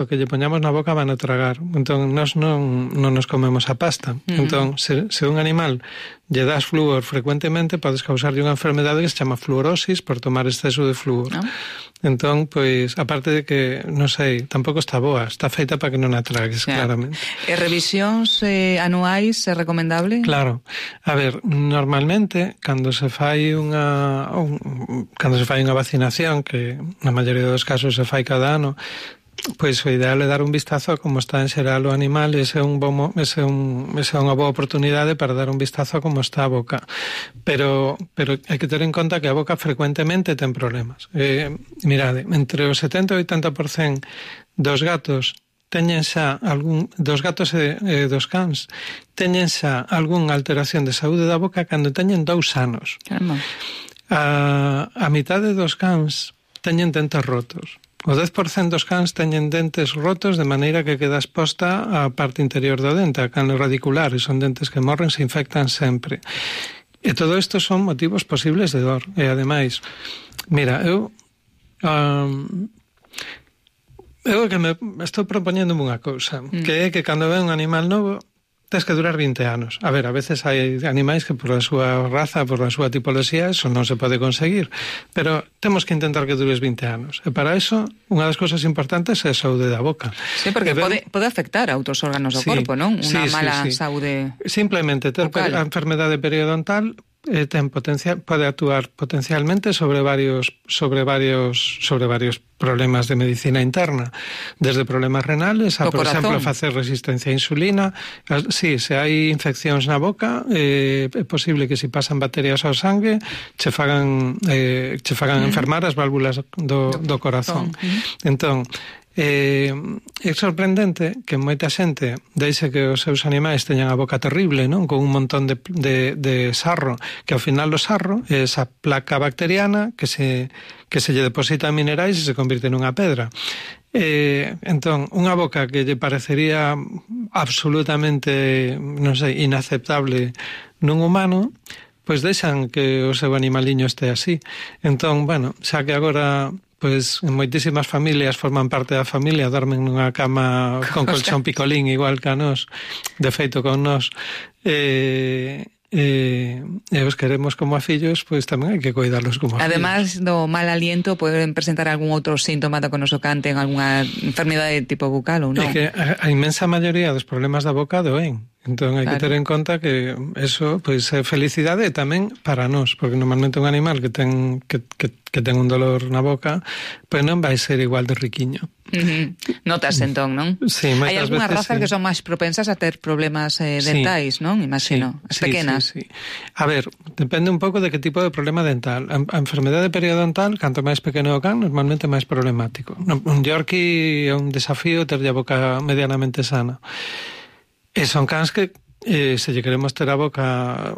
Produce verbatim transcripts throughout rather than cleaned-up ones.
o que lle poñamos na boca van a tragar. Entón, nós non, non nos comemos a pasta. Uh-huh. Entón, se, se un animal lle das flúor frecuentemente, podes causarlle unha enfermedade que se chama fluorosis por tomar exceso de flúor. No. Entón, pois, aparte de que, non sei, tampouco está boa, está feita para que non a tragues, yeah. claramente. E revisións eh, anuais é recomendable? Claro. A ver, normalmente, cando se fai unha un, cando se fai unha vacinación, que na maioría dos casos se fai cada ano, pois o ideal é dar un vistazo a como está en xeral o animal, e ese é un bom, ese é un, esa é unha boa oportunidade para dar un vistazo a como está a boca. Pero pero hai que ter en conta que a boca frecuentemente ten problemas. Eh, mirade, entre o setenta e oitenta por cento dos gatos teñen xa algún, dos gatos e, e dos cans, teñen xa algunha alteración de saúde da boca cando teñen dous anos. Caramba. A, a mitade dos cans teñen dentes rotos. O dez por cento dos cans teñen dentes rotos de maneira que queda exposta a parte interior do dente, a canle radicular, e son dentes que morren, se infectan sempre. E todo isto son motivos posibles de dor. E ademais, mira, eu um, eu que me estou propoñendo unha cousa, mm. que é que cando ve un animal novo tens que durar vinte anos. A ver, a veces hai animais que por a súa raza, por a súa tipoloxía, eso non se pode conseguir. Pero temos que intentar que dures vinte anos. E para eso, unha das cousas importantes é a saúde da boca. Sí, porque ben, pode, pode afectar a outros órganos do sí, corpo, non? Unha sí, mala sí, sí. saúde Simplemente ter vocal. A enfermedade periodontal eh, ten potencial, pode actuar potencialmente sobre varios sobre varios sobre varios problemas de medicina interna, desde problemas renales a, por exemplo, facer resistencia a insulina. Sí, se hai infeccións na boca, eh, é posible que se pasan bacterias ao sangue che fagan eh, che fagan mm. enfermar as válvulas do, do corazón. Mm. Entón, Eh, é sorprendente que moita xente deixe que os seus animais teñan a boca terrible, non? Con un montón de, de, de sarro, que ao final o sarro é esa placa bacteriana que se, que se lle deposita minerais e se convirte nunha pedra. Eh, entón, unha boca que lle parecería absolutamente, non sei, inaceptable nun humano, pois deixan que o seu animaliño este así. Entón, bueno, xa que agora pois en moitísimas familias forman parte da familia, dormen nunha cama con colchón picolín igual que a nós, de feito con nós, e, e, e os queremos como a fillos, pois tamén hai que cuidarlos como a Además, fillos. Además do mal aliento, poden presentar algún outro síntoma do que nos canten, algunha enfermidade de tipo bucal ou non? É que a, a inmensa maioría dos problemas da boca doen. Entón hai claro. que ter en conta que eso pois é felicidade e tamén para nós, porque normalmente un animal que ten que, que, que ten un dolor na boca, pois non vai ser igual de riquiño. Uh-huh. Notas entón, non? Sí, hai algunhas razas sí. que son máis propensas a ter problemas eh, dentais, sí. non? Imagino, sí, as pequenas. Sí, sí, sí. A ver, depende un pouco de que tipo de problema dental. A, a enfermedade periodontal, canto máis pequeno o can, normalmente máis problemático. Un Yorkie é un desafío ter a boca medianamente sana. E son cans que eh, se lle queremos ter a boca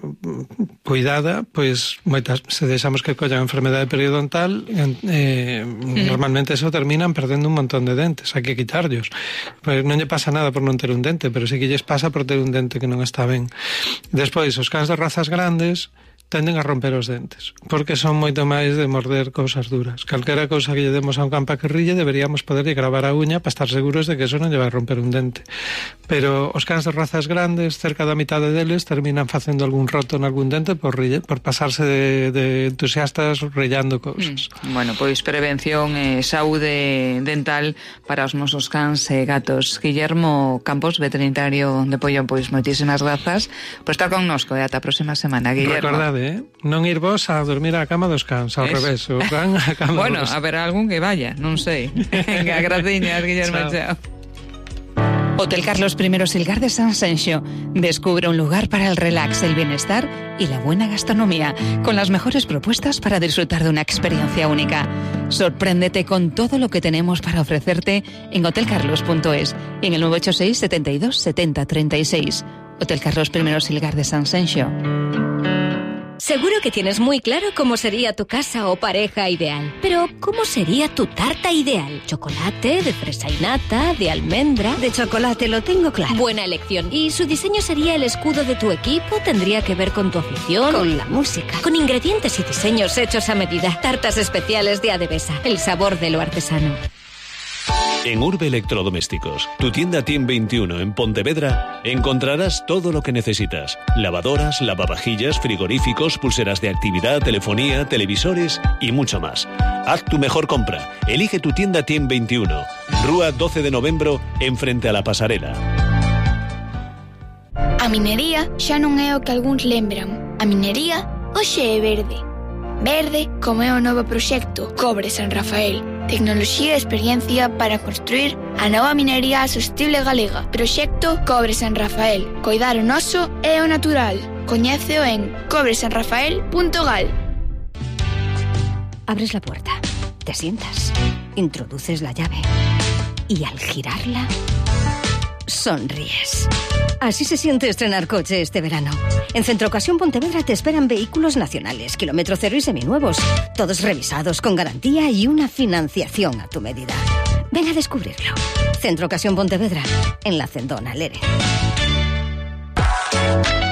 cuidada, pois moitas, se deixamos que collan a enfermedade periodontal, eh, mm. normalmente eso terminan perdendo un montón de dentes, hai que quitarllos. Pois non lle pasa nada por non ter un dente, pero sí que lles pasa por ter un dente que non está ben. Despois, os cans de razas grandes tenden a romper os dentes, porque son moito máis de morder cousas duras. Calquera cousa que lle demos a un can pa que rille, deberíamos poderlle gravar a uña para estar seguros de que eso non lle vai romper un dente. Pero os cans de razas grandes, cerca da mitade deles, terminan facendo algún roto en algún dente por, rille, por pasarse de, de entusiastas rillando cousas. Mm. Bueno, pois prevención e eh, saúde dental para os nosos cans e gatos. Guillermo Campos, veterinario de Pollón, pois moitísimas grazas por estar connosco e ata a próxima semana, Guillermo. Recordade, eh? Non ir vos a dormir á cama dos cans, ao es. revés, o can á cama bueno, dos... a ver algún que vaya, non sei. Venga, graciñas, Guillermo, chao. Hotel Carlos I Silgar de San Senxo. Descubre un lugar para el relax, el bienestar y la buena gastronomía, con las mejores propuestas para disfrutar de una experiencia única. Sorpréndete con todo lo que tenemos para ofrecerte en hotel carlos punto es y en el nueve ocho seis, setenta y dos, setenta, treinta y seis. Hotel Carlos I Silgar de San Senxo. Seguro que tienes muy claro cómo sería tu casa o pareja ideal. Pero, ¿cómo sería tu tarta ideal? ¿Chocolate, de fresa y nata, de almendra? De chocolate, lo tengo claro. Buena elección. ¿Y su diseño sería el escudo de tu equipo? ¿Tendría que ver con tu afición? Con la música. Con ingredientes y diseños hechos a medida. Tartas especiales de Adevesa. El sabor de lo artesano. En Urbe Electrodomésticos, tu tienda Team veintiuno en Pontevedra, encontrarás todo lo que necesitas. Lavadoras, lavavajillas, frigoríficos, pulseras de actividad, telefonía, televisores y mucho más. Haz tu mejor compra. Elige tu tienda Team veintiuno. Rúa doce de novembro, enfrente a la pasarela. A minería xa non é o que algúns lembran. A minería hoxe é verde. Verde como é o novo proxecto Cobre San Rafael. Tecnoloxía e experiencia para construir a nova minería sostible galega. Proxecto Cobre San Rafael. Coidar o noso é o natural. Coñéceo en cobre san rafael punto gal. Abres la puerta, te sientas, introduces la llave y al girarla, sonríes. Así se siente estrenar coche este verano. En Centro Ocasión Pontevedra te esperan vehículos nacionales, kilómetro cero y seminuevos, todos revisados con garantía y una financiación a tu medida. Ven a descubrirlo. Centro Ocasión Pontevedra, en la Cendona, Lere.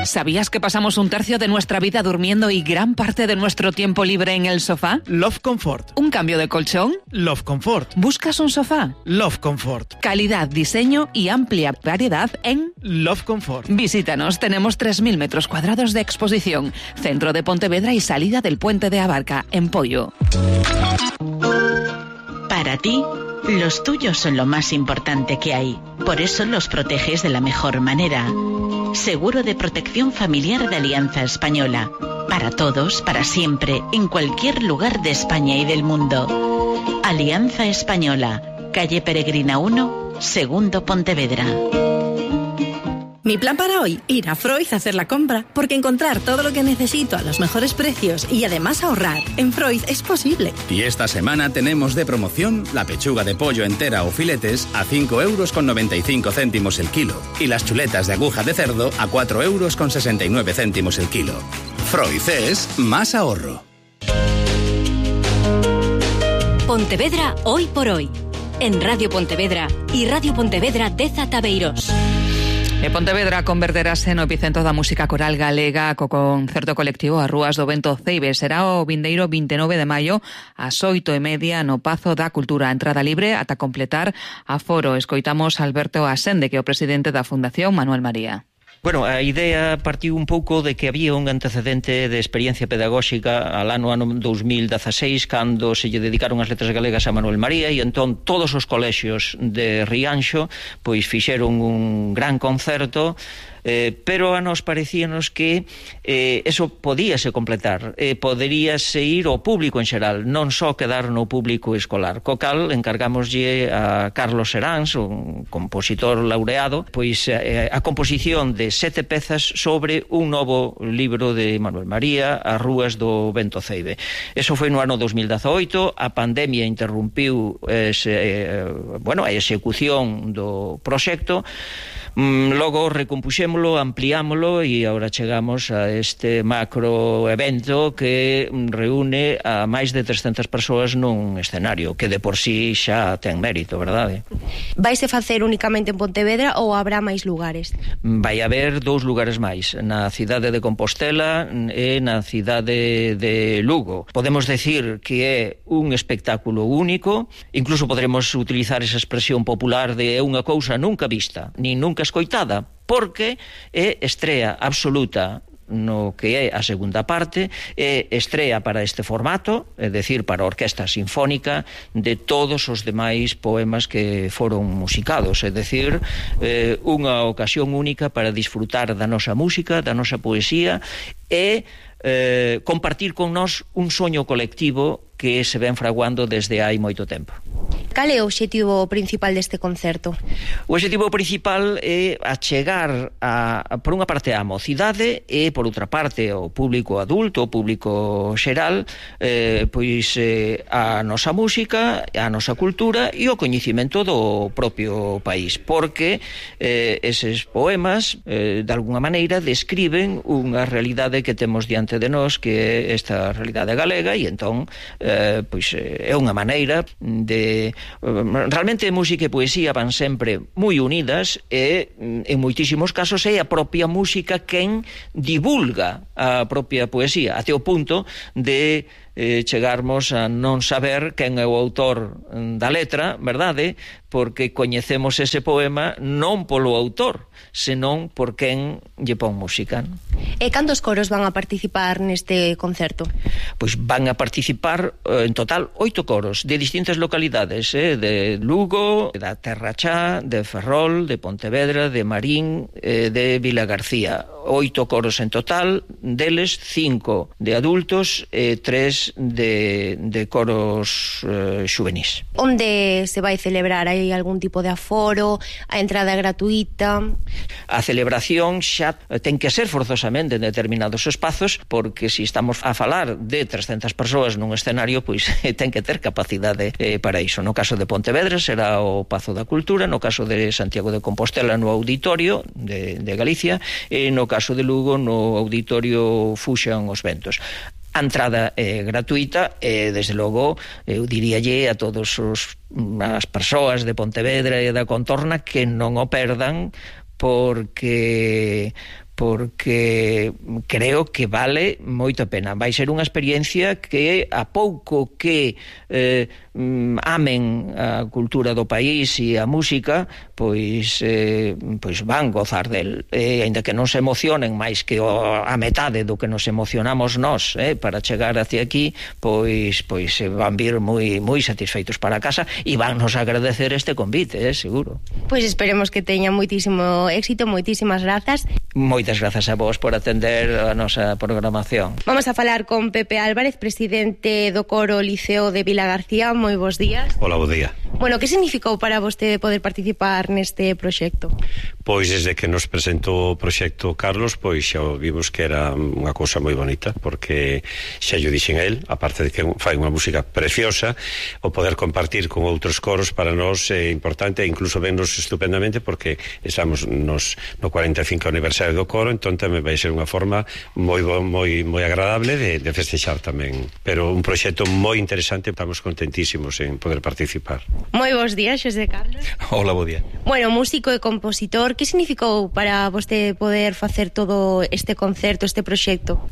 ¿Sabías que pasamos un tercio de nuestra vida durmiendo y gran parte de nuestro tiempo libre en el sofá? Love Comfort. ¿Un cambio de colchón? Love Comfort. ¿Buscas un sofá? Love Comfort. Calidad, diseño y amplia variedad en Love Comfort. Visítanos, tenemos tres mil metros cuadrados de exposición. Centro de Pontevedra y salida del Puente de Abarca, en Pollo. Para ti, los tuyos son lo más importante que hay. Por eso los proteges de la mejor manera. Seguro de protección familiar de Alianza Española. Para todos, para siempre, en cualquier lugar de España y del mundo. Alianza Española, calle Peregrina uno, segundo Pontevedra. Mi plan para hoy, ir a Freud a hacer la compra, porque encontrar todo lo que necesito a los mejores precios y además ahorrar en Freud es posible. Y esta semana tenemos de promoción la pechuga de pollo entera o filetes a cinco euros con noventa y cinco céntimos el kilo y las chuletas de aguja de cerdo a cuatro euros con sesenta y nueve céntimos el kilo. Freud es más ahorro. Pontevedra hoy por hoy. En Radio Pontevedra y Radio Pontevedra Deza Tabeiros. E Pontevedra converterase no epicentro da música coral galega co concerto colectivo As Rúas do Vento Ceibe. Será o vindeiro vinte e nove de maio ás oito e media no Pazo da Cultura. Entrada libre ata completar aforo. Escoitamos a Alberto Asende, que é o presidente da Fundación Manuel María. Bueno, a idea partiu un pouco de que había un antecedente de experiencia pedagóxica al ano ano dos mil dezasseis, cando se lle dedicaron as letras galegas a Manuel María, e entón todos os colexios de Rianxo pois fixeron un gran concerto. Eh, pero a nos parecíanos que eh, eso podíase completar, eh, poderíase ir ao público en xeral, non só quedar no público escolar. Co cal encargámoslle a Carlos Seráns, un compositor laureado, pois eh, a composición de sete pezas sobre un novo libro de Manuel María, As Rúas do Vento Ceibe. Eso foi no ano dos mil dezaoito, a pandemia interrumpiu ese, eh, bueno, a execución do proxecto. Logo recompuxémolo, ampliámolo e agora chegamos a este macro evento que reúne a máis de trescentas persoas nun escenario, que de por sí xa ten mérito, verdade? Vaise facer únicamente en Pontevedra ou habrá máis lugares? Vai haber dous lugares máis, na cidade de Compostela e na cidade de Lugo. Podemos decir que é un espectáculo único, incluso podremos utilizar esa expresión popular de é unha cousa nunca vista, nin nunca escoitada, porque é estrea absoluta no que é a segunda parte, é estrea para este formato, é dicir, para a orquesta sinfónica, de todos os demais poemas que foron musicados, é dicir, eh, unha ocasión única para disfrutar da nosa música, da nosa poesía e eh, compartir con nós un soño colectivo que se ven fraguando desde hai moito tempo. Cal é o obxectivo principal deste concerto? O obxectivo principal é achegar a, a, por unha parte a mocidade e por outra parte ao público adulto, ao público xeral, eh, pois eh, a nosa música, a nosa cultura e o coñecimento do propio país, porque eh, eses poemas eh, de alguna maneira describen unha realidade que temos diante de nós, que é esta realidade galega, e entón eh, pois é unha maneira de... Realmente música e poesía van sempre moi unidas e en moitísimos casos é a propia música quen divulga a propia poesía, até o punto de eh, chegarmos a non saber quen é o autor da letra, verdade? porque coñecemos ese poema non polo autor, senón por quen lle pon música. E cantos coros van a participar neste concerto? Pois van a participar en total oito coros de distintas localidades, eh, de Lugo, da Terra Chá, de Ferrol, de Pontevedra, de Marín, eh, de Vilagarcía. Oito coros en total, deles cinco de adultos e tres de, de coros eh, xuvenís. Onde se vai celebrar? Hai algún tipo de aforo? A entrada gratuita? A celebración xa ten que ser forzosamente en determinados espazos, porque se si estamos a falar de trescentas persoas nun escenario, pois ten que ter capacidade eh, para iso. No caso de Pontevedra será o Pazo da Cultura, no caso de Santiago de Compostela no Auditorio de, de Galicia, e no caso de Lugo no Auditorio Fuxan os Ventos. A entrada é gratuita e, desde logo, eu diríalle a todos os as persoas de Pontevedra e da contorna que non o perdan, porque porque creo que vale moito a pena. Vai ser unha experiencia que, a pouco que eh, amen a cultura do país e a música, pois, eh, pois van gozar del. E, ainda que non se emocionen máis que o, a metade do que nos emocionamos nós eh, para chegar hacia aquí, pois, pois van vir moi, moi satisfeitos para casa e van nos agradecer este convite, eh, seguro. Pois esperemos que teña moitísimo éxito, moitísimas grazas. Moitas grazas a vos por atender a nosa programación. Vamos a falar con Pepe Álvarez, presidente do coro Liceo de Vilagarcía. Moi bons días. Hola, bo día. Bueno, que significou para vostede poder participar neste proxecto? Pois desde que nos presentou o proxecto Carlos, pois xa vimos que era unha cousa moi bonita, porque xa yo dixen a él, aparte de que fai unha música preciosa, o poder compartir con outros coros para nós é importante, e incluso vennos estupendamente porque estamos nos, no cuarenta e cinco aniversario do coro, entón tamén vai ser unha forma moi moi moi agradable de, de festexar tamén, pero un proxecto moi interesante, estamos contentísimos en poder participar. Moi bons días, Xosé Carlos. Hola, bo día. Bueno, músico e compositor, que significou para vostede poder facer todo este concerto, este proxecto?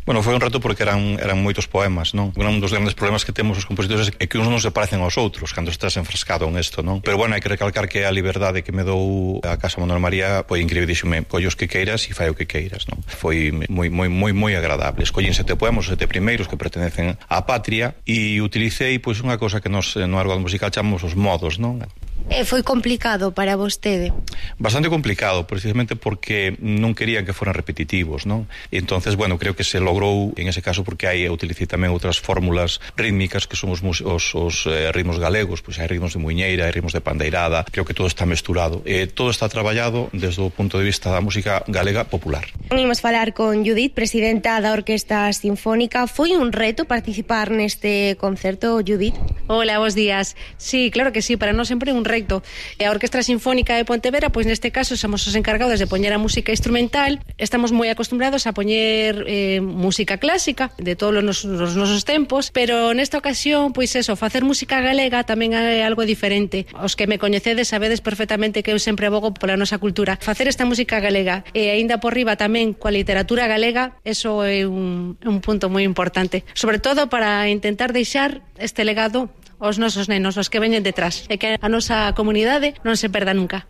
Bueno, foi un reto porque eran, eran moitos poemas, non? Un dos grandes problemas que temos os compositores é que uns non se parecen aos outros cando estás enfrascado en isto, non? Pero bueno, hai que recalcar que a liberdade que me dou a Casa Manuel María foi increíble, díxome, collos que queiras e fai o que queiras, non? Foi moi, moi, moi, moi agradable. Escollín sete poemas, os sete primeiros que pertenecen á patria, e utilicei pois unha cosa que nos no árbol musical chamamos os modos, non? E foi complicado para vostede? Bastante complicado, precisamente porque non querían que foran repetitivos, non? E entonces, bueno, creo que se logrou en ese caso porque hai, utilicei tamén outras fórmulas rítmicas que son os, os, os eh, ritmos galegos, pois hai ritmos de muiñeira, hai ritmos de pandeirada, creo que todo está mesturado. E todo está traballado desde o punto de vista da música galega popular. Imos falar con Judith, presidenta da Orquesta Sinfónica. Foi un reto participar neste concerto, Judith? Hola, bons días. Sí, claro que sí, para nós sempre un reto. A Orquestra Sinfónica de Pontevedra, pois neste caso somos os encargados de poñer a música instrumental. Estamos moi acostumbrados a poñer eh, música clásica de todos os, os nosos tempos, pero nesta ocasión, pois eso, facer música galega tamén é algo diferente. Os que me coñecedes sabedes perfectamente que eu sempre abogo pola nosa cultura. Facer esta música galega e aínda por riba tamén coa literatura galega, eso é un, un punto moi importante, sobre todo para intentar deixar este legado aos nosos nenos, os que veñen detrás, e que a nosa comunidade non se perda nunca.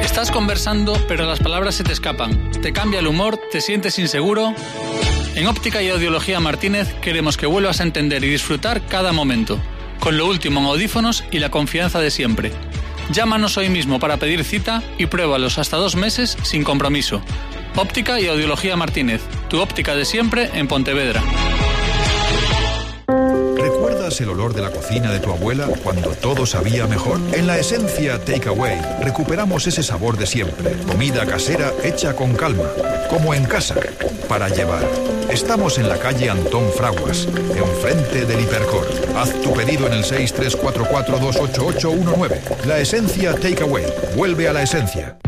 Estás conversando, pero las palabras se te escapan. Te cambia el humor, te sientes inseguro. En Óptica y Audiología Martínez queremos que vuelvas a entender y disfrutar cada momento, con lo último en audífonos y la confianza de siempre. Llámanos hoy mismo para pedir cita y pruébalos hasta dos meses sin compromiso. Óptica y Audiología Martínez, tu óptica de siempre en Pontevedra. ¿Recuerdas el olor de la cocina de tu abuela cuando todo sabía mejor? En La Esencia Takeaway recuperamos ese sabor de siempre. Comida casera hecha con calma, como en casa, para llevar. Estamos en la calle Antón Fraguas, enfrente del Hipercor. Haz tu pedido en el seis tres cuatro cuatro dos ocho ocho uno nueve. La Esencia Takeaway. Vuelve a la esencia.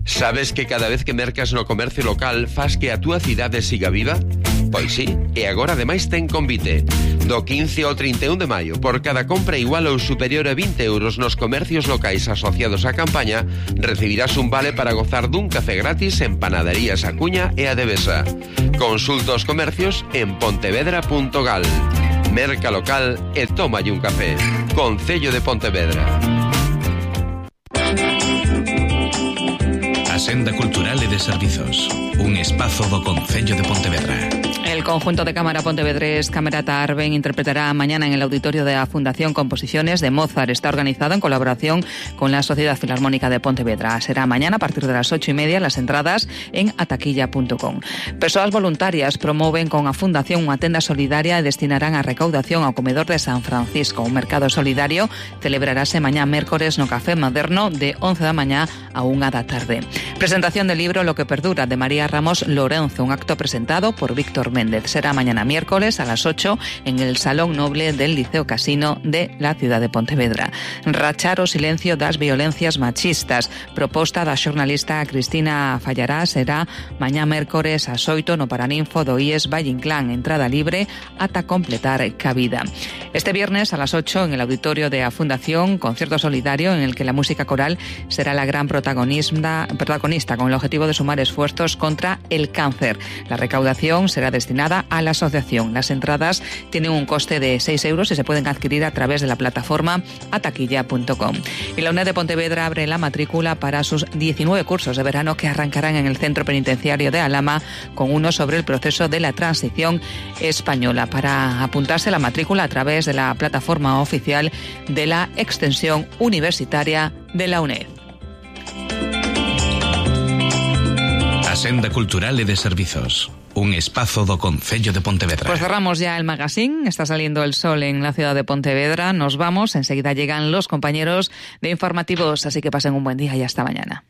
Sabes que cada vez que mercas no comercio local faz que a túa cidade siga viva? Pois sí, e agora ademais ten convite. Do quince ao trinta e un de maio, por cada compra igual ou superior a vinte euros nos comercios locais asociados á campaña, recibirás un vale para gozar dun café gratis en Panaderías Acuña e a Devesa. Consulta os comercios en pontevedra punto gal. Merca local e tómalle un café. Concello de Pontevedra. A Senda Cultural e de Servizos, un espazo do Concello de Pontevedra. El conjunto de cámara pontevedrés Camerata Arben interpretará mañana en el auditorio de la Fundación composiciones de Mozart. Está organizado en colaboración con la Sociedad Filarmónica de Pontevedra. Será mañana a partir de las ocho y media, las entradas en ataquilla punto com. Persoas voluntarias promoven con a Fundación unha tenda solidaria e destinarán a recaudación ao comedor de San Francisco. Un mercado solidario celebrarase mañá mércores no Café Moderno de once da mañá a unha da tarde. Presentación del libro Lo que perdura de María Ramos Lorenzo, un acto presentado por Víctor Méndez. Será mañana miércoles a las ocho en el Salón Noble del Liceo Casino de la ciudad de Pontevedra. Rachar o silencio das violencias machistas. Proposta da xornalista Cristina Fallará será mañá miércoles ás oito no Paraninfo do I E S Valle Inclán. Entrada libre ata completar cabida. Este viernes a las ocho en el auditorio de la Fundación, concierto solidario en el que la música coral será la gran protagonista, protagonista con el objetivo de sumar esfuerzos contra el cáncer. La recaudación será destinada a la asociación. Las entradas tienen un coste de seis euros y se pueden adquirir a través de la plataforma ataquilla punto com. Y la UNED de Pontevedra abre la matrícula para sus diecinueve cursos de verano que arrancarán en el Centro Penitenciario de Alhama, con uno sobre el proceso de la transición española. Para apuntarse la matrícula a través de la plataforma oficial de la Extensión Universitaria de la UNED. A Senda Cultural e de Servizos, un espazo do Concello de Pontevedra. Pues cerramos ya el magazine. Está saliendo el sol en la ciudad de Pontevedra. Nos vamos. Enseguida llegan los compañeros de informativos. Así que pasen un buen día y hasta mañana.